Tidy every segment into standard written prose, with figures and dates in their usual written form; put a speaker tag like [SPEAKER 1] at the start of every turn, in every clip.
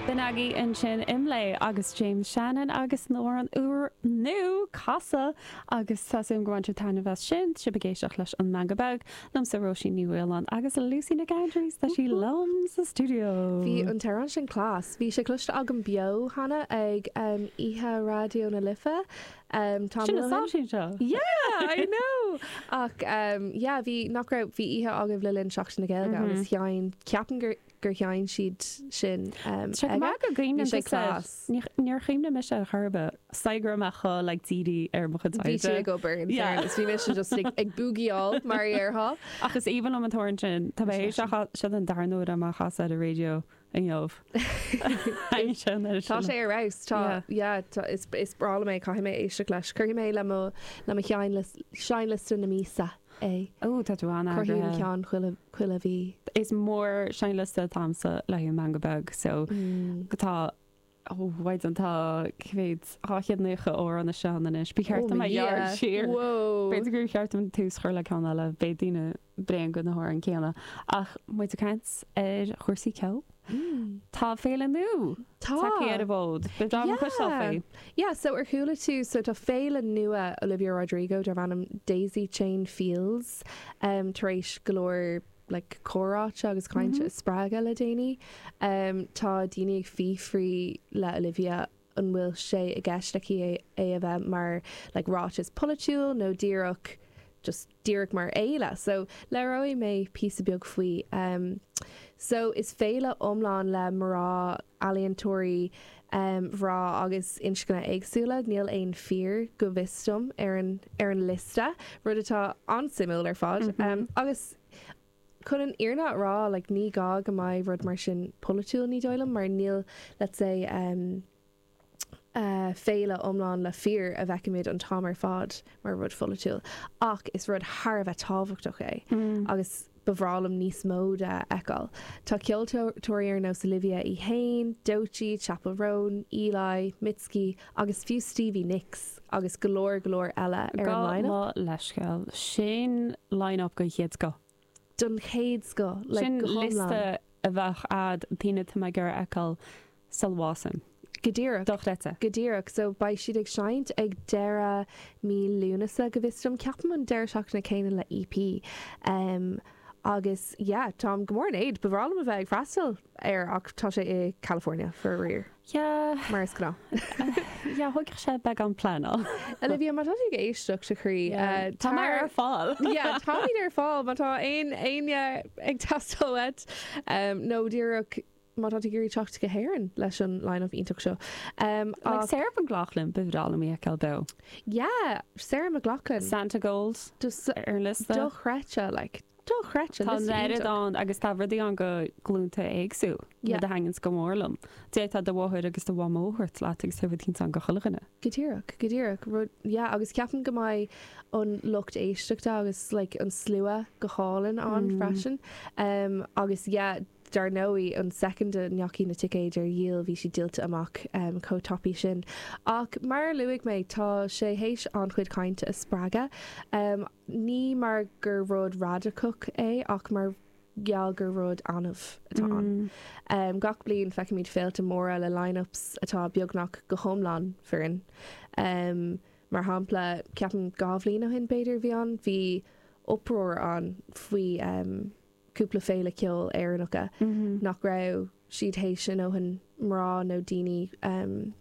[SPEAKER 1] B'in agaibh ansin Imlé agus James Shannon agus an t-amhrán úr nua Casadh agus tá súil agam gur bhain sibh taitneamh as sin. Sibh ag éisteacht leis An Meangadh Beag liomsa Róisín Ní Mhaoláin agus Lucy Nic Aindreas tá sí liom sa stiúideo.
[SPEAKER 2] Bhí an t-amhrán sin class. Bhí sé cloiste agam beo cheana ag Oíche Raidió na Life
[SPEAKER 1] tamall ó shin. Sin an stáisiún seo!
[SPEAKER 2] Yeah, I know! Ach yeah, bhí, nach raibh, bhí oíche agaibh le linn Seachtain na Gaeilge agus sheinn, ceapaim gur, gur sheinn siad sin
[SPEAKER 1] Tá go maith go gcuimhníonn
[SPEAKER 2] Bhí sé class.
[SPEAKER 1] Níor chuimhnigh mise ar chor ar bith. Said go raibh mé chomh like dírithe ar mo chuid
[SPEAKER 2] oibre. Bhí tú ag obair in fairness. Bhí mise just ag ag boogie-áil mar a déarfá.
[SPEAKER 1] Ach is aoibhinn liom an t-amhrán sin. Tá mé théis é seo an darna huair dom é a chasadh ar an raidió inniu.
[SPEAKER 2] Tá sé ar fheabhas. Tá, yeah, tá, is is breá liom é. Caithfidh mé éisteacht leis. Cuirfidh mé le mo le mo sheinnliosta na míosa.
[SPEAKER 1] é. Ó, tá tú
[SPEAKER 2] an-eagraithe. Cruthaím ceann chuile, chuile mhí.
[SPEAKER 1] Is mór seinnliosta atá a'msa le haghaidh an Meangadh Beag so tá, ó, mhaighdean, tá cá mhéad, 290 amhrán istigh ann anois. Ba cheart dom é a ghearradh siar.
[SPEAKER 2] Whoa!
[SPEAKER 1] B'fhéidir gur cheart dom tús a chur le ceann eile, beidh daoine bréan de na hamhráin céanna. Ach muid ag caint ar chúrsaí ceoil. Tá féile nua tagtha ar an bhfód. Ba bhreá liom cloisteáil faoi.
[SPEAKER 2] Yeah, so ar chuala tú, so tá féile nua Olivia Rodrigo darb ainm Daisy Chain Feels um, tar éis go leor like, comhráite agus cainte a spreagadh le déanaí. Um, tá daoine ag fiafraí le Olivia an bhfuil sé i gceist aici é, é a bheith mar like, ráiteas polaitiúil nó díreach just díreach mar fhéile. So, labhróidh mé píosa beag faoi. Um, so, is féile iomlán le mná ealaíontóirí um, mná agus inscne éagsúla. Níl aon fir go bhfios dom ar an, ar an liosta, rud atá an-suimiúil ar fad. Um, agus chun an fhírinne a rá, like, ní gá go mbeidh rud mar sin polaitiúil, ní dóigh liom, mar níl, let's say, um, féile iomlán le fir a bhfeicimid an t-am ar fad mar rud pholaitiúil, ach is rud thar a bheith tábhachtach é agus ba bhreá liom níos mó de a fheiceáil. Tá ceoltóirí ar nós Olivia í fhéin, Doechii, Chappell Roan, Eli, Mitski agus fiú Stevie Nicks agus go leor go leor eile ar an
[SPEAKER 1] line-up. Gabh mo leithscéal. Sin line-up den chéad scoth.
[SPEAKER 2] Den chéad scoth,
[SPEAKER 1] like, Sin go hiomlán. liosta a bheadh a'd daoine atá mé ag iarraidh a fheiceáil sula bhásaím.
[SPEAKER 2] Go díreach.
[SPEAKER 1] Dochreidte.
[SPEAKER 2] Go díreach. So beidh siad ag seinnt ag deireadh mí Lúnasa go bhfios dom. Ceapaim an deireadh seachtaine céanna le EP. Um, agus yeah, táim go mór in éad. Ba bhreá liom a bheith ag freastal air ach tá sé i California, faraor.
[SPEAKER 1] Yeah.
[SPEAKER 2] Mar is gnáth.
[SPEAKER 1] Yeah, thógfadh sé beagán pleanáil.
[SPEAKER 2] Olivia, má tá tú ag éisteacht a chroí,
[SPEAKER 1] Yeah. Tá mé ar fáil.
[SPEAKER 2] Yeah, táimid ar fáil má tá aon éinne ag teastáil uait. Um, nó díreach má tá tú ag iarraidh teacht go hÉirinn leis an line-up iontach seo.
[SPEAKER 1] Um, Like ach, Sarah McLachlan, ba bhreá liom í a fheiceáil beo.
[SPEAKER 2] yeah, Sarah McLachlan.
[SPEAKER 1] Santigold Just ar an liosta.
[SPEAKER 2] dochreidte, like, dochreidte,
[SPEAKER 1] Tá liosta an oiread iontach. ann agus tá rudaí ann go glúnta éagsúil,
[SPEAKER 2] Yeah.
[SPEAKER 1] rud a thaitníonns go mór liom. D'fhéadfá do mháthair agus do mhamó a thabhairt leat agus tá rud éicint ann go chuile dhuine.
[SPEAKER 2] Go díreach, go díreach. Rud, yeah, agus ceapaim go mbeidh an lucht éisteachta agus like an slua go hálainn ann freisin. Um, agus yeah, Dar ndóigh, an soicind a ndeachaigh na ticéid ar dhíol, bhí siad díolta amach chomh tapaidh sin. Ach mar a luaigh mé, tá sé théis an-chuid cainte a spreagadh. Ní mar gur rud radacach é ach mar gheall gur rud annamh atá ann. Gach bliain feicimid féilte móra le line-ups atá beagnach go hiomlán fireann. Mar shampla, ceapaim 2 bhliain ó shin b'fhéidir a bhí ann, bhí uproar ann faoi cúpla féile ceoil Éireannacha nach raibh siad théis a ndóthain mná nó daoine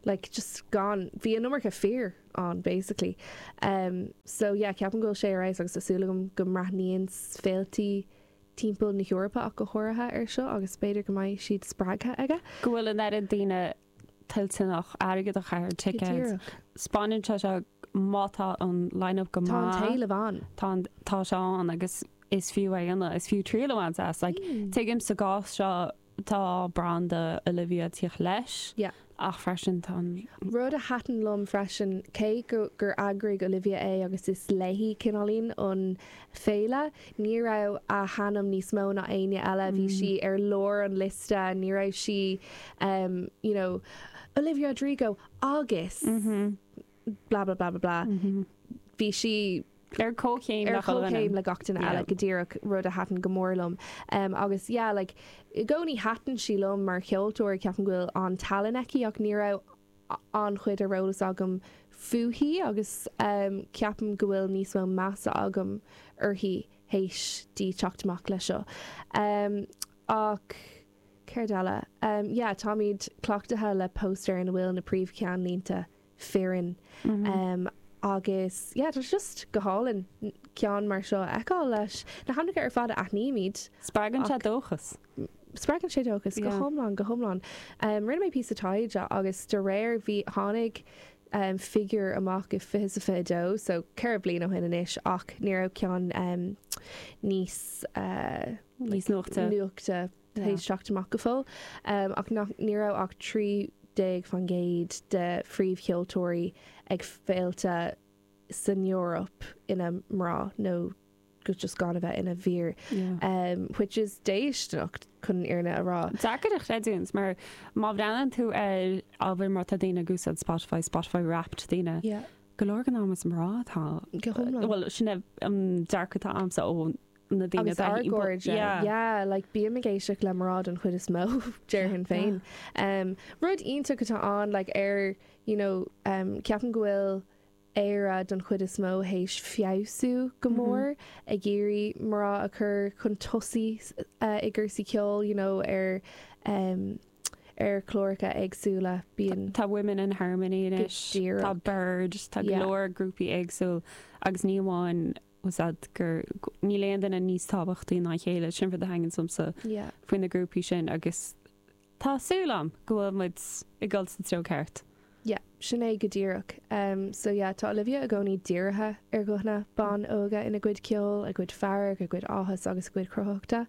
[SPEAKER 2] like just gan, bhí an iomarca fir ann basically. So yeah ceapaim go bhfuil sé ar fheabhas agus tá súil agam go mbreathnaíonn féiltí timpeall na hEorpa ach go háirithe ar seo agus b'fhéidir go mbeidh siad spreagtha aige.
[SPEAKER 1] Go bhfuil an oiread daoine toilteanach airgead a chaitheamh ar ticéid. 'Spáineann sé seo má tá an line-up go
[SPEAKER 2] maith. Tá an t-éileamh ann.
[SPEAKER 1] Tá an, tá sé ann agus is fiú é a dhéanamh, is fiú triail a bhaint as. Like, tuigim sa gcás seo tá branda Olivia ag tíocht leis.
[SPEAKER 2] Yeah.
[SPEAKER 1] Ach freisin tá an.
[SPEAKER 2] Rud a thaitin liom freisin, cé go gur eagraigh Olivia é agus is léi cineáilín an féile, ní raibh a hainm níos mó ná éinne eile, bhí sí ar lár an liosta, ní raibh sí you know Olivia Rodrigo agus blah blah blah blah blah. Bhí sí.
[SPEAKER 1] Ar comhchéim
[SPEAKER 2] ar comhchéim le gach duine eile go díreach, rud a thaitin go mór liom. Agus yeah, like, i gcónaí thaitin sí liom mar cheoltóir, ceapaim go bhfuil an-tallann aici ach ní raibh an-chuid ar eolas agam fúithi agus ceapaim go bhfuil níos mó measa agam uirthi théis di teacht amach leis seo. Ach céard eile? Yeah, táimid cleachtaithe le póstaer ina bhfuil na príomhcheannlínte fireann agus yeah, tá sé just go hálainn ceann mar seo a fheiceáil leis na hainmneacha ar fad a aithnímid.
[SPEAKER 1] Spreagann sé dóchas.
[SPEAKER 2] Spreagann sé dóchas, go hiomlán, go hiomlán. Rinne mé píosa taighde agus de réir, bhí, tháinig figiúr amach i 2022, so 4 bliana ó shin anois, ach ní raibh ceann níos
[SPEAKER 1] níos nuachta
[SPEAKER 2] nuachta théis teacht amach go fóill, ach nach, ní raibh ach 13% de phríomhcheoltóirí ag féilte san Eoraip ina mná nó just gan a bheith ina bhfir, which is déistineach chun an fhírinne a rá.
[SPEAKER 1] Deacair a chreidiúint mar má bhreathnaíonn tú ar ábhar mar tá daoine ag úsáid Spotify, Spotify Wrapped daoine, go leor den am is mná atá,
[SPEAKER 2] Go hiomlán.
[SPEAKER 1] bhuel sin é an dearcadh atá agamsa ó na daoine
[SPEAKER 2] Agus ár gcairde, yeah, like bím ag éisteacht le mná den chuid is mó, déarfainn féin. Rud iontach atá ann, like ar, you know, ceapaim go bhfuil Éire don chuid is mó théis feabhsú go mór, ag iarraidh mná a chur chun tosaigh i gcúrsaí ceoil, you know, ar ar chláracha éagsúla. Bíonn.
[SPEAKER 1] Tá Women in Harmony anois, tá Byrd, tá go leor grúpaí éagsúil agus ní amháin úsáid gur níl aon duine níos tábhachtaí ná a chéile, sin rud a thaitníonn liomsa faoi na grúpaí sin agus Tá súil agam go bhfuil muid ag dul sa treo ceart.
[SPEAKER 2] Yeah, sin é go díreach. So yeah, tá Olivia i gcónaí dírithe ar ghuthanna ban óga ina gcuid ceoil, a gcuid fearg, a gcuid áthas agus a gcuid cruthaitheachta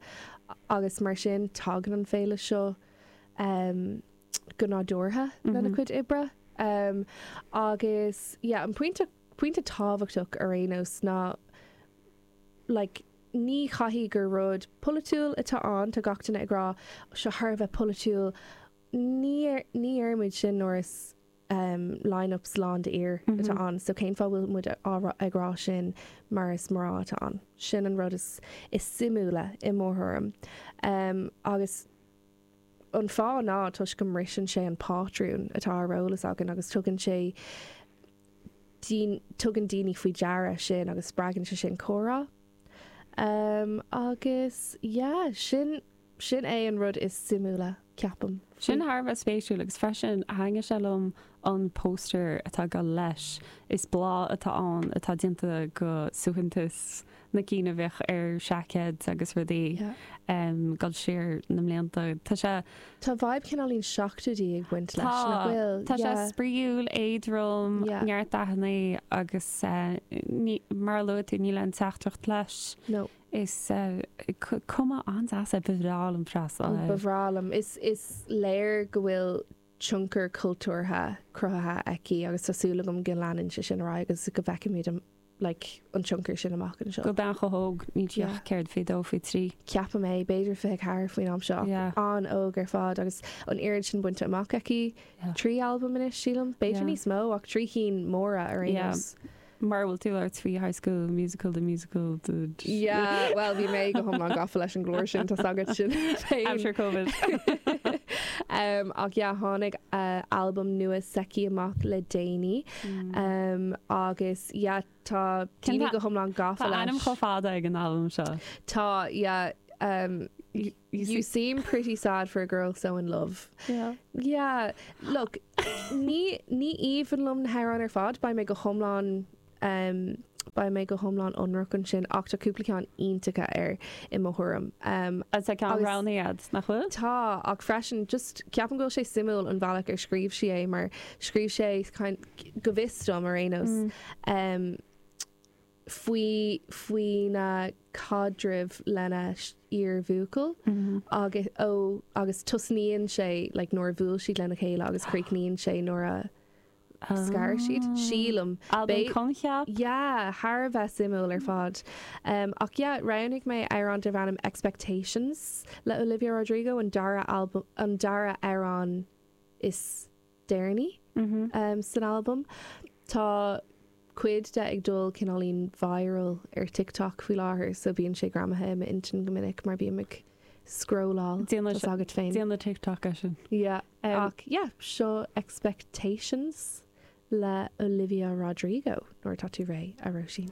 [SPEAKER 2] agus mar sin tagann an féile seo go nádúrtha lena cuid oibre. Agus yeah, an pointe, pointe tábhachtach ar aon nós ná like, ní chaithfidh gur rud polaitiúil atá ann, tá gach duine ag rá seo thar a bheith polaitiúil, ní ní deir muid sin nuair is line-ups lán d'fhir atá ann, so cén fáth bhfuil muid ag rá sin mar is mná atá ann? Sin an rud is is suimiúla i mo thuairim. Agus an fáth ná toisc go mbriseann sé an pátrún atá ar eolas againn agus tugann sé tugann daoine faoi deara sin agus spreagann sé sin comhrá. Agus yeah, sin, sin é an rud is suimiúla, ceapaim.
[SPEAKER 1] Sin thar a bheith spéisiúil agus freisin thaitnigh sé liom an póstaer atá ag dul leis. Is bláth atá ann atá déanta go suaitheantas na cinn a bheadh ar seaicéid agus rudaí dul siar na mblianta. Tá sé.
[SPEAKER 2] Tá vibe cineáilín seachtóidí ag baint leis, nach bhfuil?
[SPEAKER 1] Tá sé spraíúil, éadrom, neart dathanna agus mar a luaigh tú, níl aon teachtaireacht leis.
[SPEAKER 2] No.
[SPEAKER 1] Is cuma an-deas é, ba bhreá liom freastal
[SPEAKER 2] air. Ba bhreá liom. Is léir go bhfuil tionchar cultúrtha cruthaithe aici agus tá súil agam go leanann sé sin ar aghaidh agus go bhfeicfimid an like an tionchar sin amach anseo.
[SPEAKER 1] Do bhean chomh hóg, níl sí ach céard, 22, 23?
[SPEAKER 2] Ceapaim é, b'fhéidir 24 faoin am seo ach an-óg ar fad agus an oiread sin bainte amach aici. 3 albam anois, sílim, b'fhéidir níos mó ach 3 cinn móra ar aon nós.
[SPEAKER 1] Mar a bhfuil tú ag labhairt faoi High School Musical, the musical, the.
[SPEAKER 2] Yeah, bhuel bhí mé go hiomlán gafa leis an gclár sin, tá's agat sin
[SPEAKER 1] féin. Aimsir Covid.
[SPEAKER 2] Ach yeah, tháinig albam nua s'aici amach le déanaí agus yeah, tá daoine go hiomlán gafa
[SPEAKER 1] leis. Tá ainm chomh fada ag an albam seo.
[SPEAKER 2] Tá, yeah. You seem pretty sad for a girl so in love.
[SPEAKER 1] Yeah.
[SPEAKER 2] Yeah, look, ní ní aoibhinn liom na hamhráin ar fad, beidh mé go hiomlán um, beidh mé go hiomlán ionraic ansin ach tá cúpla ceann iontacha air i mo thuairim.
[SPEAKER 1] Um, Agus tá ceann roghnaithe agat, nach bhfuil?
[SPEAKER 2] Tá, ach freisin just ceapaim go bhfuil sé suimiúil an bhealach ar scríobh sí é mar scríobh sé kind, go bhfios dom ar aon nós um, faoi faoina caidreamh lena iar-bhuachaill agus ó agus tosnaíonn sé like nuair a bhuail siad lena chéile agus críochnaíonn sé nuair a scar siad, sílim.
[SPEAKER 1] Albam coincheap?
[SPEAKER 2] Yeah, thar a bheith suimiúil ar fad. Um, ach yeah, roghnaigh mé amhrán darb ainm Expectations le Olivia Rodrigo, an dara albam, an dara amhrán is deireanaí san albam. Tá. cuid de ag dul cineáilín viral ar TikTok faoi láthair so bíonn sé greamaithe i m'intinn go minic mar bím ag scrolláil,
[SPEAKER 1] Déanamh
[SPEAKER 2] tá's agat féin.
[SPEAKER 1] Déanamh TikTok é sin.
[SPEAKER 2] Yeah. Ach yeah, seo Expectations le Olivia Rodrigo nuair atá tú réidh, a Róisín.